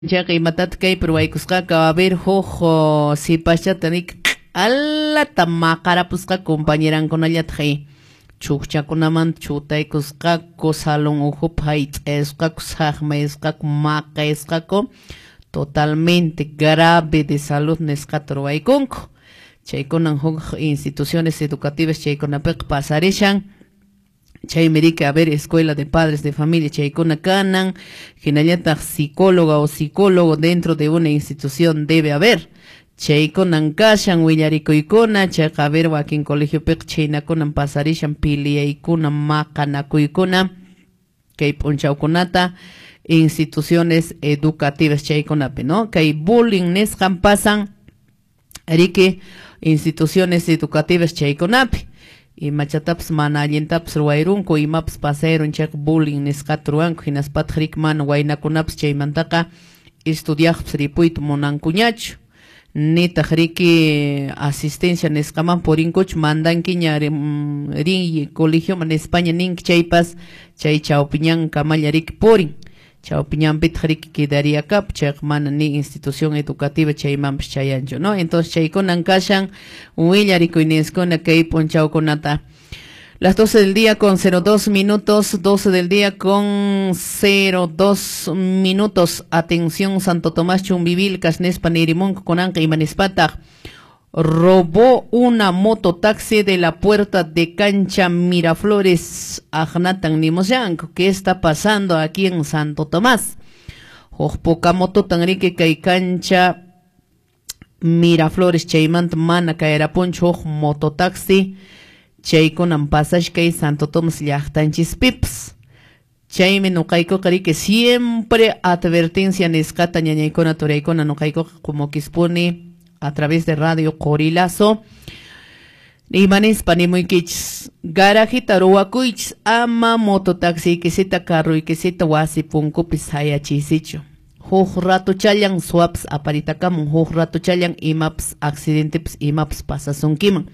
Chayqa imatataq kaypi ruwaykusqaku? A ver, huk sipaschata nik q'alata maqarapusqaku compañerankunallataq chukchakunamanta chutaykusqaku, salón ukhupi hayt'ayusqaku, saqmayusqaku, maqayusqaku, totalmente grave de salud nisqata ruwaykunku. Chaykunan huk instituciones educativas chaykunapiqa pasarishan. Chaymi riki, a ver, escuela de padres de familia chaykuna kanan, hinallataq psicóloga o psicólogo dentro de una institución debe haber. Chaykunan kashan willarikuykuna, chayqa a ver wakin colegiopiqa chhaynakunan pasarishan piliyaykuna, maqanakuykuna kay p'unchawkunata instituciones educativas chaykunapi, ¿no? Kay bullying nisqan pasan riki instituciones educativas chaykunapi. Imachatapas mana allintapas ruwayrunku, imapas pasayrun chayqa bullying nisqata ruwanku, hinaspataq riki mana waynakunapas chaymantaqa estudiaqpas ripuyta munankuñachu. Nitaq riki asistencia nisqaman purinkuchu, mandankiña rin colegioman nispaña ninki chaypas chay chawpiñankamalla riki purin. Chawpiñanpitaq riki quedariakap, chayqa mana ni institución educativa chaymanpas chayanchu, ¿no? Entonces chaykunan kashan willarikuyninskuna kay p'unchawkunata. Las 12 del día con 02 minutos, 12 del día con 02 minutos. Atención, Santo Tomás Chumbivilcas, nispa nirimunku kunanqa imanispataq. Robó una mototaxi de la puerta de cancha Miraflores, Agnatan nimushanku. ¿Qué está pasando aquí en Santo Tomás? Huk puka mototan riki kay cancha Miraflores chaymanta mana kayarapunchu huk mototaxi. Chaykunan pasashkay Santo Tomás llaqtanchispipas. Chaymi nuqaykuqa riki siempre advertencia nisqata ñañaykuna turaykuna nuqaykuqa qumukispuni a través de Radio Qorilazo. Imanispa nimuykichis, garajita ruwakuychis, ama mototaxiykisita carruykisita wasi punkupi sayachiysichu. Huk ratuchallan suwapas aparitakamun, huk ratuchallan imapas accidentepas imapas pasasunkiman.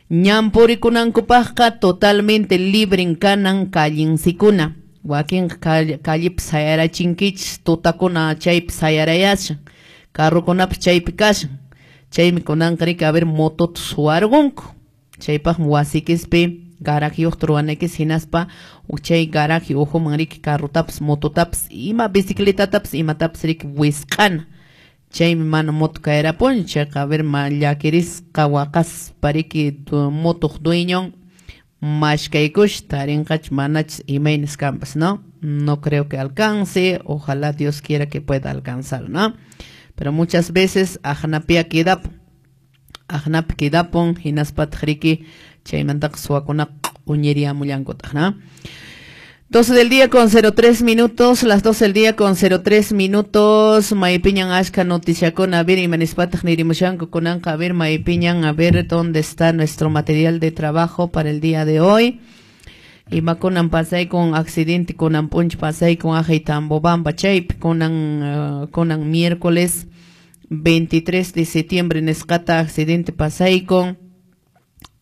Ñan purikunankupaqqa totalmente libren kanan callensikuna. Wakinqa callepi sayarachinkichis, tutakuna chaypi sayarayashan, carrukunapas chaypi kashan. Chaymi kunanqa riki a ver motota suwarqunku. Chaypaqmi wasikispi garajiyuqta ruwanaykis hinaspa chay garaje ukhuman riki carrutapas mototapas ima bicicletatapas imatapas riki wisq'ana. Chaymi mana moto kayarapunchu, chayqa a ver ma llakirisqa waqaspa riki motoq dueñon mashkaykush tarinqachu manachus imaynas kanpas, ¿no? No creo que alcance, ojalá Dios quiera que pueda alcanzar, ¿no? Pero muchas veces aqnapia quedapun, aqnapi quedapun, hinaspataq riki chaymantaqa suwakunaqa q'uñiriamullankutaq, ¿no? 12 del día con 03 minutos, las 12 del día con 03 minutos, maypiñan ashka noticiakuna, a ver, imanispataq nirimushanku kunanqa, a ver, maypiñan, a ver, dónde está nuestro material de trabajo para el día de hoy. Imakunan pasay con accidente, kunan p'unchaw pasay con ajay Tambobamba chaypi, kunan miércoles 23 de septiembre nisqata accidente pasay con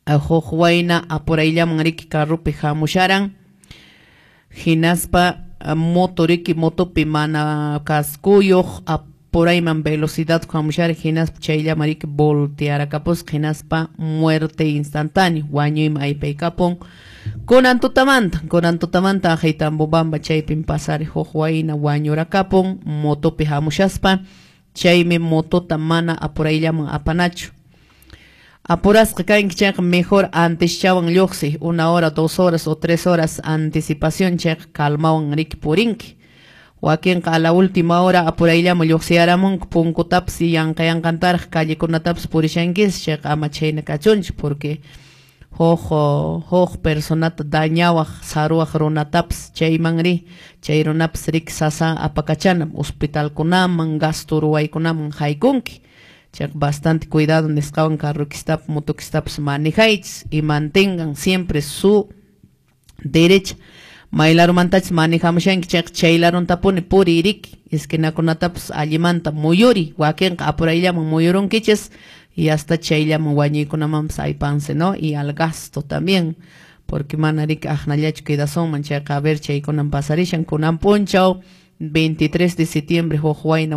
huk wayna apurayllaman riki carrupi hamusharan. Hinaspa moto riki motopi mana kaskuyuq apurayman velocidad hamushara hinaspa chayllaman riki voltearakapusqa hinaspa muerte instantánea wañuyman aypaykapun. Kunan tutamanta ajay Tambobamba chaypin pasari huk wayna wañurakapun motopi hamushaspa, chaymi motota mana apurayllaman apanachu. Apurasqa kanki chayqa mejor anteschawan lluqsi, 1 hora, 2 horas o 3 horas anticipación chayqa calmawan riki purinki. Wakinqa a la última hora apurayllaman lluqsiyaramunku punkutapas yanqa yanqantaraq callekunatapas purishankis, chayqa ama chhayna kachunchu porque huk personata dañawaq saruwaq runatapas chayman ri, chay runapas riki sasa apakachanam hospitalkunaman gasto ruwaykunaman haykunki. Chayqa bastante cuidado nisqawan carrokistapas motokistapas manejaychis y mantengan siempre su derecha. Maylarumantachis manejamushanki chayqa chaylaruntapuni puriy riki, esquinakunatapas allimanta muyuri, wakinqa apurayllaman muyurunkichis y hasta chayllaman wañuykunamanpas aypanse, ¿no? Y al gasto también, porque mana riki aqnallachu quedasunman, chayqa a ver chaykunan pasarishan kunan p'unchaw 23 de septiembre huk wayna.